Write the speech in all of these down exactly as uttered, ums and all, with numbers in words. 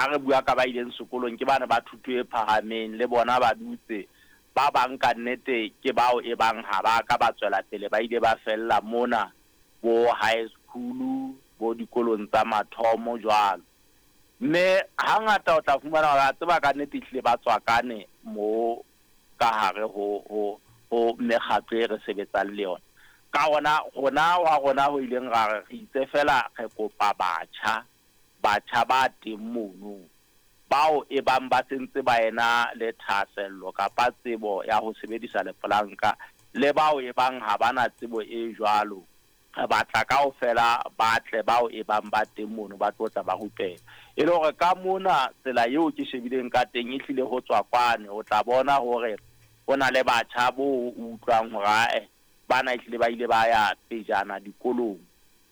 Ha re bua ka ba ileng sekolong, ke bana ba thuto e phahameng, le bona ba dutse. Ba bang ka nnete ke bao e bang ha ba ka ba tswela pele, ba ile ba fella mona bo high school, bo dikolong tsa mathomo jwalo. Mme hangata o tla fumana hore a tseba ka nnete ehlile ba tswakane mo ka hare ho ho ho mekgatlo e re sebetsang le yona. Ka hona rona wa rona ho ileng ra re re itse fela re kopa batjha, batjha ba teng mono bao e bang ba sentse ba ena le thahasello kapa tsebo ya ho sebedisa lepolanka, le bao e bang ha bana tsebo e jwalo. Re batla kaofela ba tle bao e bang ba teng mono ba tlo tla ba rupela. E le hore ka mona tsela eo ke shebileng ka teng ehlile ho tswa kwane, o tla bona hore ho na le batjha bo o utlwang hore ae bana ehlile ba ile ba ya pejana dikolong.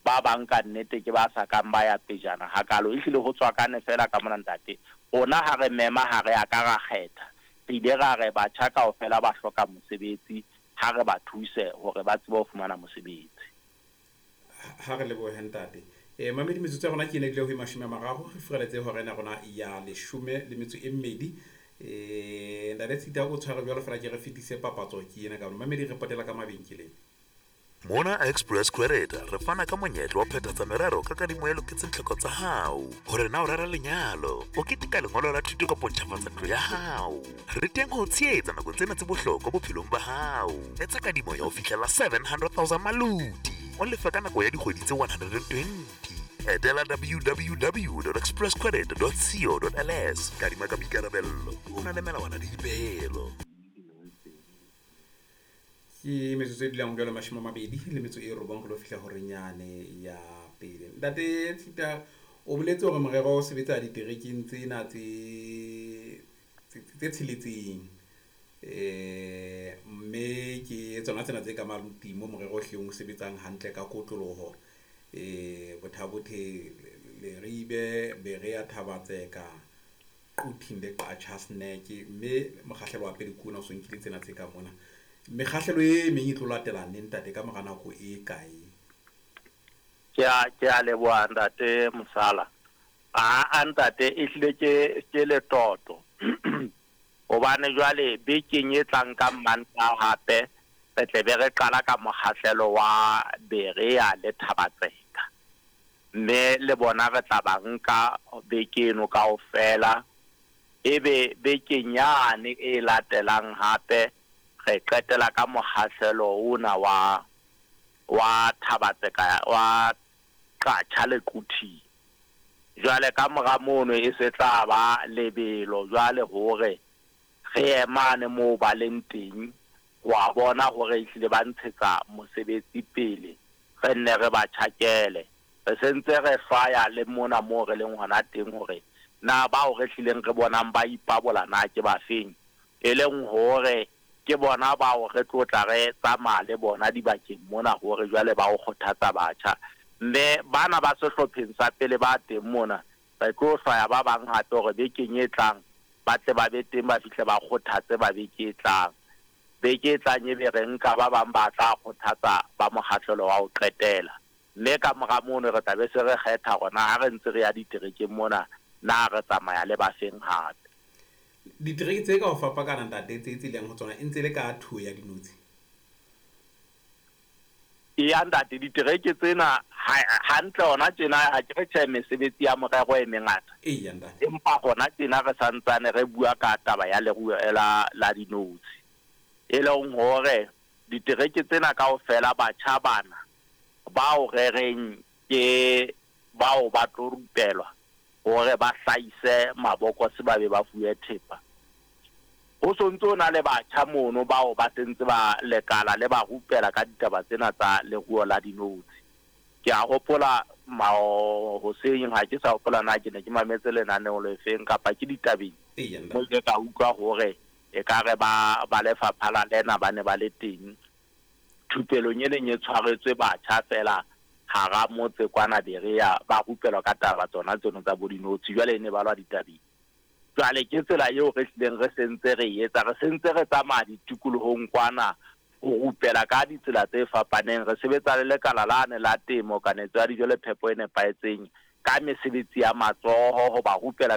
Ba bang ka nnete ke ba sa kang ba ya pejana hakalo. Ehlile ho tswakane fela ka mona ntate. Rona ha re mema ha re a ka ra kgetha. Re ile ra re batjha kaofela ba hloka mosebetsi, ha re ba thuse hore ba tsebe ho fumana mosebetsi. Ha re lebohe ntate. E mamedi, metsotso ya rona ke ena ebile ho mashome a mararo, re furaletse hora ena rona ya leshome le metso e mmedi. E ntate Tshita o tshware jwalo fela, ke re fetise papatso ke ena ka mamedi, re potela ka mabenkeleng. Mona Express Credit re fana ka monyetla wa phethatsa merero ka kadimo e loketseng tlhoko tsa hao. Hore na o rera lenyalo, o keteka lengolo la thuto kapa o ntjhafatsa ntlo ya hao, re teng ho o tshehetsa nakong tsena tse bohlokwa bophelong ba hao. Etsa kadimo ya ho fihlela seven hundred thousand maloti, o lefe ka nako ya dikgwedi tse one hundred and twenty. Etela w w w dot express credit dot co dot l s. Kadima ka boikarabello, o na le melawana le dipehelo. Ke metsotso e dulang jwalo mashome a mabedi le metso e robong ho lo fihla horeng yane ya pele. Ntate Tshita, o boletse hore morero o sebetsa diterekeng tsena tse, tse, tse tsheletseng. Eh, mme ke tsona tsena tse ka Maluti mo morero o hleng o sebetsang hantle ka kotloloho. Eh, Botha-Bothe, Leribe, Berea, Thaba-Tseka, Quthing le Qacha's Nek. Mme mokgahlelo wa pele ke ona o so nkile tsena tse ka mona. Mekgahlelo e meng e tlo latela neng ntate, ka mora nako e kae? Ke a, ke a leboha ntate Mosala. A, a ntate, ehlile ke, ke letoto. Hobane jwale bekeng e tlang ka Mantaha hape re tle be re qala ka mokgahlelo wa Berea le Thaba-Tseka. Mme le bona re tla ba nka beke eno kaofela. Ebe bekeng yane e latelang hape re qetela ka mokgahlelo ona wa, wa Thaba-Tseka, wa Qacha le Quthing. Jwale ka mora mono e se tla ba lebelo jwale hore re emane moo ba leng teng, wa bona hore ehlile ba ntshetsa mosebetsi pele, re nne re ba tjhakele. Re sentse re hlwaya le mona moo re leng hona teng hore na bao re hlileng re bonang ba ipabola na ke ba feng, e leng hore ke bona bao re tlo tla re tsamaya le bona dibakeng mona hore jwale ba o kgothatsa batjha. Mme bana ba sehlopheng sa pele ba teng mona, re tlo hlwaya ba bang hape hore bekeng e tlang ba tle ba be teng, ba fihle ba kgothatse ba beke e tlang. Beke e tlang ebe re nka ba bang ba tla kgothatsa ba mokgahlelo wa ho qetela. Mme ka mora mono re tla be se re kgetha hore na ha re ntse re ya diterekeng mona, na re tsamaya le ba feng hape. Ditereke tse ka ho fapakana ntate tse tse leng ho tsona e ntse le ka thuo ya dinotshi? Eya ntate, ditereke tsena ha-, hantle hona tjena ha ke re tjhe mesebetsi ya morero e mengata. Eya ntate. Empa hona tjena re santsane re bua ka taba ya leruo la, la dinotshi. E leng hore ditereke tsena kaofela batjha bana bao re reng ke bao ba tlo rupelwa hore ba hlahise mabokose ba be ba fuwe thepa. Ho sontso na le batjha mono bao ba sentse ba lekala le ba rupela ka ditaba tsena tsa leruo la dinotshi. Ke a hopola mao hoseng, ha ke sa hopola na ke ne ke mametse lenaneo le feng kapa ke ditabeng. Eya, ntate. Mo ke ka utlwa hore ekare ba, ba lefapha la lena ba ne ba le teng thupelong e neng e tshwaretswe batjha fela hara motse kwana Berea, ba rupelwa ka taba tsona tseno tsa bo dinotshi, jwale e ne ba lwa ditabeng. Jwale ke tsela eo re hlileng re sentse re e etsa, re sentse re tsamaya ditikolohong kwana ho rupela ka ditsela tse fapaneng. Re sebetsa le lekala lane la temo, kanetso ya dijo le phepo e nepahetseng, ka mesebetsi ya matsoho, ho ba rupela ka